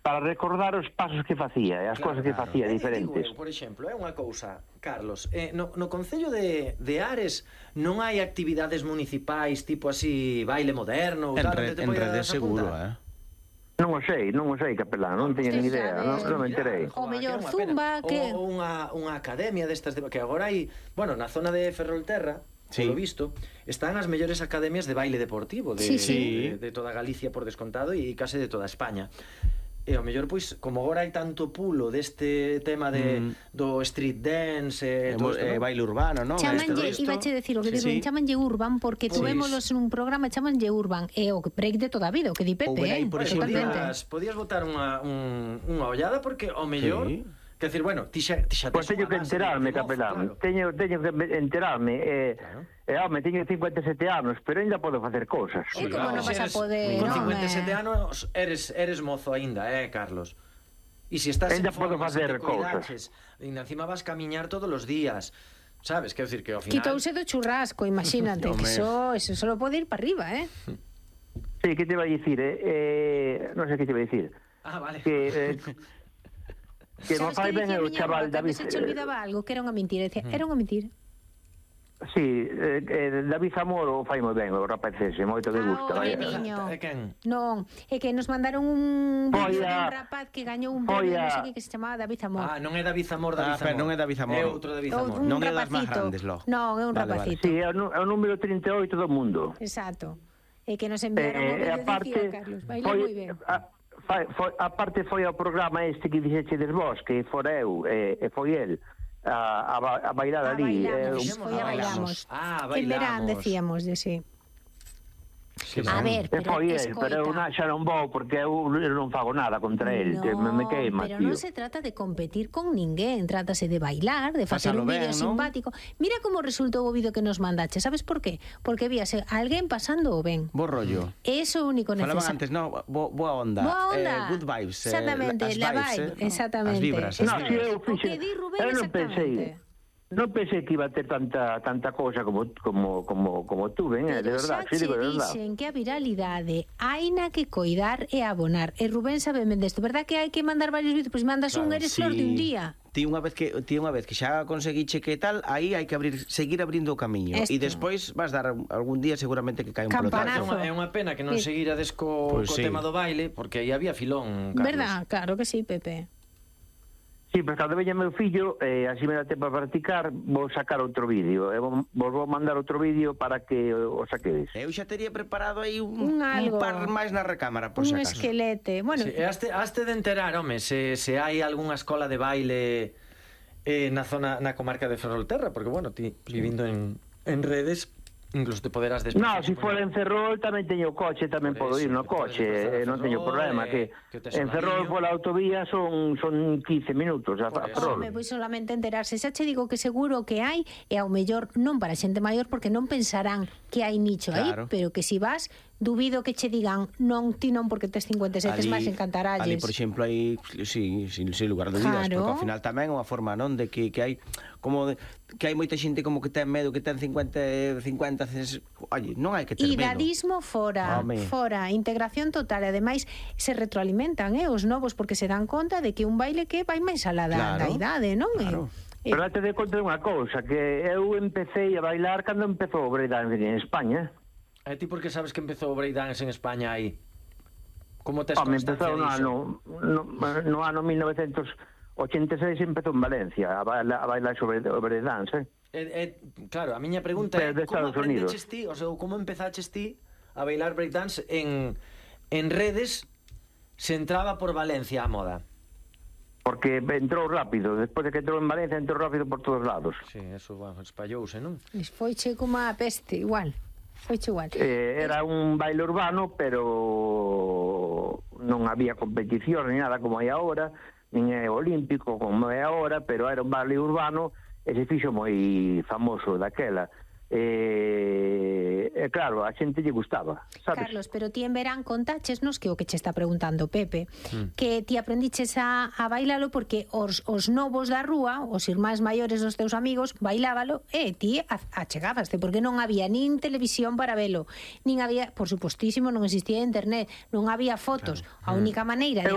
para recordar os pasos que facía e as cousas que facía diferentes. Por exemplo, é unha cousa, Carlos, no Concello de Ares non hai actividades municipais tipo así, baile moderno ou tal, En redes seguro, Non o sei, capelán, non teño ni idea, non me enterei. O mellor zumba, que... Ou unha academia destas, que agora hai, bueno, na zona de Ferrolterra, polo visto, están as mellores academias de baile deportivo de toda Galicia por descontado e case de toda España. E ao mellor, pois, como agora hai tanto pulo deste tema do street dance baile urbano, non? Ibache decir o que digo, chamanlle urban porque tuvémolos nun programa, chamanlle urban e o break de toda a vida, o que di Pepe, podías botar unha ollada porque ao mellor quer decir, bueno, ti xa pois teño que enterarme, capelán, teño que enterarme, home, teño 57 anos, pero ainda podo facer cousas. E como non vas a poder, con 57 anos eres mozo aínda, Carlos? E se estás en forma, se te cuidaches, encima vas camiñar todos os días, sabes? Quer decir que ao final... Quitouse do churrasco, imagínate, que eso solo pode ir para arriba, Sí, que te vai dicir, non sei que te vai dicir. Vale. Que non fai ben o chaval David... Se te olvidaba algo, que era unha mentira, decía, era unha mentira. Sí, David Zamoro fai moi ben, o rapaz ese, moito que gusta. Non, é que nos mandaron un vídeo de un rapaz que gañou un premio, non sei que se chamaba David Zamor. Non é David Zamor, non é David Zamor. É outro David Zamor. Non é das máis grandes, lo. Non, é un rapacito. Sí, é o número 38 do mundo. Exacto. É que nos enviaron un vídeo de Ciro, Carlos. Baila moi ben. Aparte foi ao programa este que dixechedes vos, que fora eu e foi el a bailar ali. Bailamos. En verán decíamos de sí. A ver, pero eu xa non vou porque eu non fago nada contra el, me queima, pero non se trata de competir con ninguén, trátase de bailar, de facer un vídeo simpático. Mira como resultou o vídeo que nos mandache, sabes por qué? Porque víase alguén pasando o ben. Bo rollo. Eso único necesario. Falaban antes, boa onda. Good vibes. Exactamente, la vibe, exactamente. As vibras. O que di Rubén exactamente. Non pensei que iba a ter tanta cousa como tú, de verdade, sí, digo de verdade. Dixen que a viralidade haina que coidar e abonar. E Rubén sabe desto, verdad que hai que mandar varios vídeos, pois mandas un eres flor de un día. Ti unha vez que xa conseguiche que tal, aí hai que seguir abrindo o camiño e despois vas dar algún día seguramente que cae un pelotazo. É unha pena que non seguirades co tema do baile, porque aí había filón, Carlos. Verdad, claro que sí, Pepe. Sí, pero cando veña meu fillo, así me dá tempo a practicar, vou sacar outro vídeo. Vos vou mandar outro vídeo para que o saquedes. Eu xa teria preparado aí un par máis na recámara, por si acaso. Un esquelete. Bueno, haste de enterar, home, se hai algunha escola de baile na comarca de Ferrolterra, porque, bueno, ti vivindo en redes... Incluso te poderás desplazar. No, se for en Ferrol tamén teño coche, tamén podo ir no coche, non teño problema, que en Ferrol pola autovía son 15 minutos a Ferrol. Pois solamente enterarse, xa che digo que seguro que hai, e ao mellor non para xente maior porque non pensarán que hai nicho aí, pero que si vas, dubido que che digan non, ti non porque tes 57, máis encantaralles. Ali, por exemplo, hai, sin lugar de dúbidas, porque ao final tamén é unha forma, non, de que hai como que hai moita xente como que ten medo, que ten 50, oye, non hai que ter medo. Idadismo fora, integración total, e ademais se retroalimentan, os novos, porque se dan conta de que un baile que vai máis alá da idade, non? Claro. Pero te de conta unha cousa, que eu empecé a bailar cando empezou o breakdance en España. E ti por que sabes que empezou o breakdance en España aí? Como tes constancia diso? No ano 1986 empezou en Valencia a bailar sobre o breakdance. Claro, a miña pregunta é como aprendeches ti, o sea, como empezaches ti a bailar breakdance en redes se entraba por Valencia a moda? Porque entrou rápido, despois de que entrou en Valencia entrou rápido por todos lados. Sí, eso, bueno, espallouse, non? Foiche como a peste, igual. Foiche igual. Era un baile urbano, pero non había competición ni nada como hai agora, nin é olímpico como é agora, pero era un baile urbano e se fixo moi famoso daquela. Claro, a xente lle gustaba, sabes? Carlos, pero ti en verán contáchesnos que o que che está preguntando Pepe, que ti aprendiches a bailalo porque os novos da rúa, os irmáns maiores dos teus amigos, bailábalo e ti achegabaste, porque non había nin televisión para velo, nin había, por supostísimo, non existía internet, non había fotos, a única maneira de